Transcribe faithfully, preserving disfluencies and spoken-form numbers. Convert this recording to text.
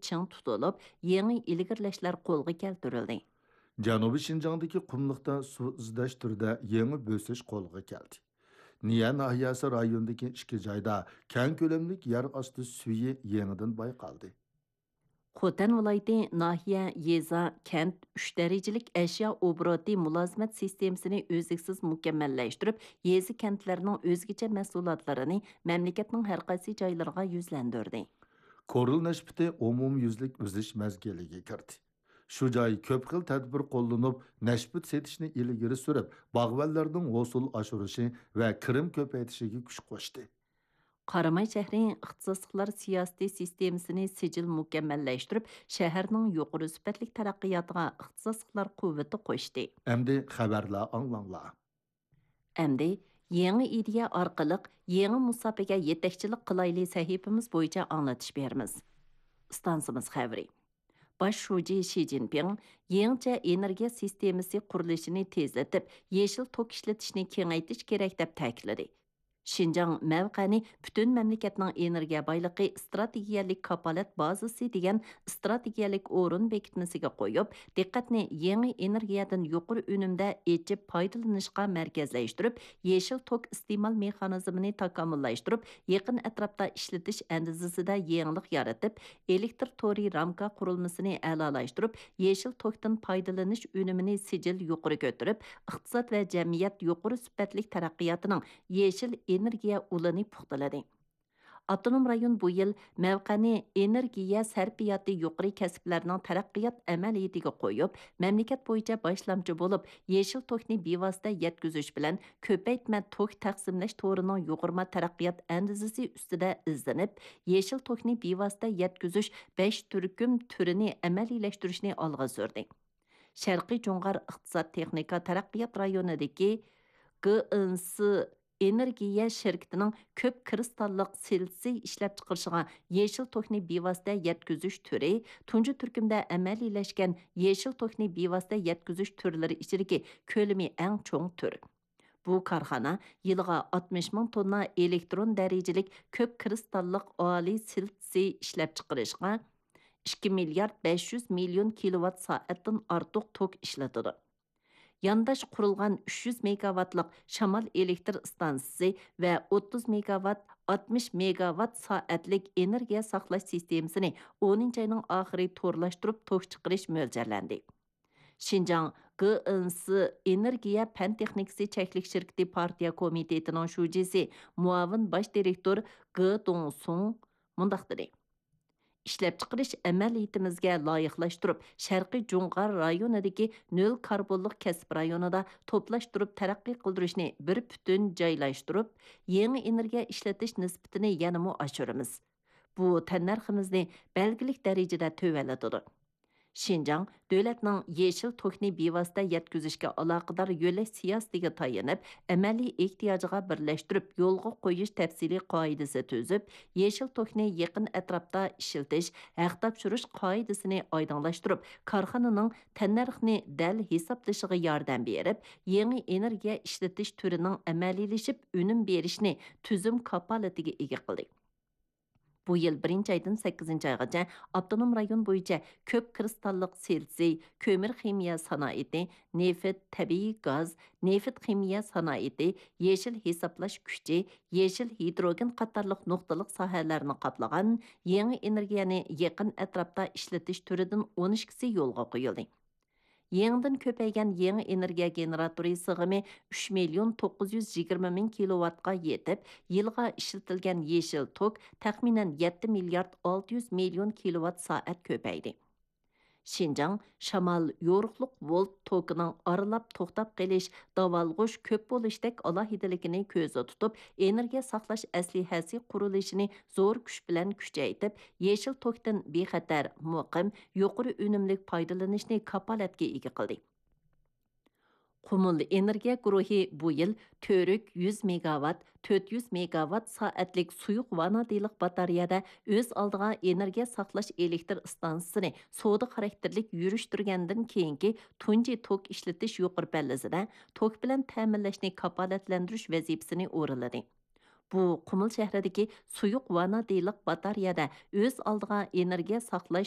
چىڭ تۇتۇلۇپ، يېڭى ئىلگىرىلەشلەر قولغا كەلتۈرۈلدى. جەنۇبىي شىنجاڭدىكى قۇملۇقتا سۇ ئىزدەش تۈرىدە يېڭى بۆسۈش قولغا كەلدى. نىيە ناھىيەسى رايونىدىكى ئىككى جايدا كەڭ كۆلەملىك يەر ئاستى سۈيى يېڭىدىن بايقالدى. خوتەن ۋىلايىتى ناھىيە، يېزا، كەنت ئۈچ دەرىجىلىك ئەشيا ئوبوروتى مۇلازىمەت سىستېمىسىنى ئۈزلۈكسىز مۇكەممەللەشتۈرۈپ، يېزا، كەنتلەرنىڭ ئۆزگىچە مەھسۇلاتلىرىنى مەملىكەتنىڭ ھەر قايسى جايلىرىغا يۈزلەندۈردى. كورل نەشپۈتى ئومۇميۈزلۈك ئۈزۈش مەزگىلىگە كىردى. شۇ جاي كۆپ خىل تەدبىر قوللىنىپ، نەشپۈت سېتىشنى ئىلگىرى سۈرۈپ، باغۋەنلەرنىڭ ھوسۇل ئاشۇرۇشى ۋە كىرىم كۆپەيتىشىگە كۈچ قوشتى. قاراماي شەھىرى ئىختىساسلىقلار سىياسىتى سىستېمىسىنى سىجىل مۇكەممەللەشتۈرۈپ، شەھەرنىڭ يۇقىرى سۈپەتلىك تەرەققىياتىغا ئىختىساسلىقلار قۇۋۋىتى قوشتى. ئەمدى خەۋەرلەر ئاڭلاڭلار. ئەمدى يېڭى ئىدىيە ئارقىلىق يېڭى مۇساپىگە يېتەكچىلىك قىلايلى سەھىپىمىز بويىچە ئاڭلىتىش بېرىمىز. ئىستانسىمىز خەۋىرى. باش شۇجى شى جىنپىڭ يېڭىچە ئېنېرگىيە سىستېمىسى قۇرۇلۇشىنى تېزلىتىپ، يېشىل توك ئىشلىتىشنى كېڭەيتىش كېرەك، دەپ تەكىتلىدى. شىنجاڭ مەۋقەنى پۈتۈن مەملىكەتنىڭ ئېنېرگىيە بايلىقى ئىستراتېگىيەلىك كاپالەت بازىسى دېگەن ئىستراتېگىيەلىك ئورۇن بېكىتمىسىگە قويۇپ، دىققەتنى يېڭى ئېنېرگىيەدىن يۇقىرى ئۈنۈمدە ئېچىپ پايدىلىنىشقا مەركەزلەشتۈرۈپ، يېشىل توك ئىستېمال مېخانىزمىنى تاكامۇللاشتۇرۇپ، يېقىن ئەتراپتا ئىشلىتىش ئەندىزىسىدە يېڭىلىق يارىتىپ، ئېلېكتر تورى رامكا قۇرۇلمىسىنى ئەلالاشتۇرۇپ، يېشىل توكتىن پايدىلىنىش ئۈنۈمىنى سىجىل يۇقىرى كۆتۈرۈپ، ئىقتىساد ۋە جەمئىيەت يۇقىرى سۈپەتلىك تەرەققىياتىنىڭ يېشىل ئېنېرگىيە ئۇلىنى پۇختىلىدى. ئاپتونوم رايون بۇ يىل مەۋقەنى ئېنېرگىيە سەرپىياتى يۇقىرى كەسىپلەرنىڭ تەرەققىيات ئەمەلىيىتىگە قويۇپ، مەملىكەت بويىچە باشلامچى بولۇپ، يېشىل توكنى بىۋاسىتە يەتكۈزۈش بىلەن كۆپەيتمە توك تەقسىملەش تورىنىڭ يۇغۇرما تەرەققىيات ئەندىزىسى ئۈستىدە ئىزدىنىپ، يېشىل توكنى بىۋاسىتە يەتكۈزۈش بەش تۈركۈم تۈرىنى ئەمەلىيلەشتۈرۈشنى ئالغا سۈردى. شەرقىي جۇڭغار ئىقتىساد تېخنىكا تەرەققىيات رايونىدىكى گېنس ئېنېرگىيە شىركىتىنىڭ كۆپ كىرىستاللىق سىلىتسىي ئىشلەپچىقىرىشىغا يېشىل توكنى بىۋاسىتە يەتكۈزۈش تۈرى تۇنجى تۈركۈمدە ئەمەلىيلەشكەن يېشىل توكنى بىۋاسىتە يەتكۈزۈش تۈرلىرى ئىچىدىكى كۆلىمى ئەڭ چوڭ تۈر. بۇ كارخانا يىلىغا ئاتمىش مىڭ توننا ئېلېكترون دەرىجىلىك كۆپ كىرىستاللىق ئالىي سىلىتسىي ئىشلەپچىقىرىشقا ئىككى مىليارد بەش يۈز مىليون كىلوۋات سائەتتىن ئارتۇق توك ئىشلىتىدۇ. يانداش قۇرۇلغان ئۈچ يۈز مېگاۋاتلىق شامال ئېلېكتر ئىستانسىسى ۋە ئوتتۇز مېگاۋات، ئاتمىش مېگاۋات سائەتلىك ئېنېرگىيە ساقلاش سىستېمىسىنى ئونىنچى ئاينىڭ ئاخىرى تورلاشتۇرۇپ توك چىقىرىش مۆلچەرلەندى. شىنجاڭ گېنس ئېنېرگىيە پەن تېخنىكىسى چەكلىك شىركىتى پارتىيە كومىتېتىنىڭ شۇجىسى، مۇئاۋىن باش دىرېكتور گې دۇڭسۇڭ مۇنداق دېدى: ئىشلەپچىقىرىش ئەمەلىيىتىمىزگە لايىقلاشتۇرۇپ، شەرقىي جۇڭغار رايونىدىكى نۆل كاربونلۇق كەسىپ رايونىدا توپلاشتۇرۇپ تەرەققىي قىلدۇرۇشنى بىر پۈتۈن جايلاشتۇرۇپ، يېڭى ئېنېرگىيە ئىشلىتىش نىسبىتىنى يەنىمۇ ئاشۇرىمىز. بۇ تەننەرخىمىزنى بەلگىلىك دەرىجىدە تۆۋەنلىتىدۇ. شىنجاڭ دۆلەتنىڭ يېشىل توكنى بىۋاسىتە يەتكۈزۈشكە ئالاقىدار يۆلەش سىياسىتىگە تايىنىپ، ئەمەلىي ئېھتىياجىغا بىرلەشتۈرۈپ يولغا قويۇش تەپسىلىي قائىدىسى تۈزۈپ، يېشىل توكنى يېقىن ئەتراپتا ئىشلىتىش، ھەق تاپشۇرۇش قائىدىسىنى ئايدىڭلاشتۇرۇپ، كارخانىنىڭ تەننەرخنى دەل ھېسابلىشىغا ياردەم بېرىپ، يېڭى ئېنېرگىيە ئىشلىتىش تۈرىنىڭ ئەمەلىيلىشىپ ئۈنۈم بېرىشىنى تۈزۈم كاپالىتىگە ئىگە قىلدى. بۇ يىل بىرىنچى ئايدىن سەككىزىنچى ئايغىچە ئاپتونوم رايون بويىچە كۆپ كىرىستاللىق سىلىتسىي، كۆمۈر خىمىيە سانائىتى، نېفىت، تەبىئىي گاز، نېفىت خىمىيە سانائىتى، يېشىل ھېسابلاش كۈچى، يېشىل ھىدروگېن قاتارلىق نۇقتىلىق ساھەلەرنى قاپلىغان يېڭى ئېنېرگىيەنى يېقىن ئەتراپتا ئىشلىتىش تۈرىدىن ئون ئىككىسى يولغا قويۇلدى. يېڭىدىن كۆپەيگەن يېڭى ئېنېرگىيە گېنېراتورى سىغىمى ئۈچ مىليون توققۇز يۈز يىگىرمە مىڭ كىلوۋاتقا يېتىپ، يىلغا ئىشلىتىلگەن يېشىل توك تەخمىنەن يەتتە مىليارد ئالتە يۈز مىليون كىلوۋات سائەت كۆپەيدى. شىنجاڭ شامال يورۇقلۇق ۋولت توكىنىڭ ئارىلاپ توختاپ قېلىش، داۋالغۇش كۆپ بولۇشتەك ئالاھىدىلىكىنى كۆزدە تۇتۇپ، ئېنېرگىيە ساقلاش ئەسلىھەسى قۇرۇلۇشىنى زور كۈچ بىلەن كۈچەيتىپ، يېشىل توكتىن بىخەتەر، مۇقىم، يۇقىرى ئۈنۈملۈك پايدىلىنىشنى كاپالەتكە ئىگە قىلدى. قۇمۇل ئېنېرگىيە گۇرۇھى بۇ يىل تۈرك يۈز مېگاۋات، تۆت يۈز مېگاۋات سائەتلىك سۇيۇق ۋانادىنلىق باتارېيەدە ئۆز ئالدىغا ئېنېرگىيە ساقلاش ئېلېكتر ئىستانسىسىنى سودا خاراكتېرلىك يۈرۈشتۈرگەندىن كېيىنكى تۇنجى توك ئىشلىتىش يۇقىرى پەللىسىدە توك بىلەن تەمىنلەشنى كاپالەتلەندۈرۈش ۋەزىپىسىنى ئورۇنلىدى. بۇ قۇمۇل شەھىرىدىكى سۇيۇق ۋاننادىلىق باتارېيەدە ئۆز ئالدىغا ئېنېرگىيە ساقلاش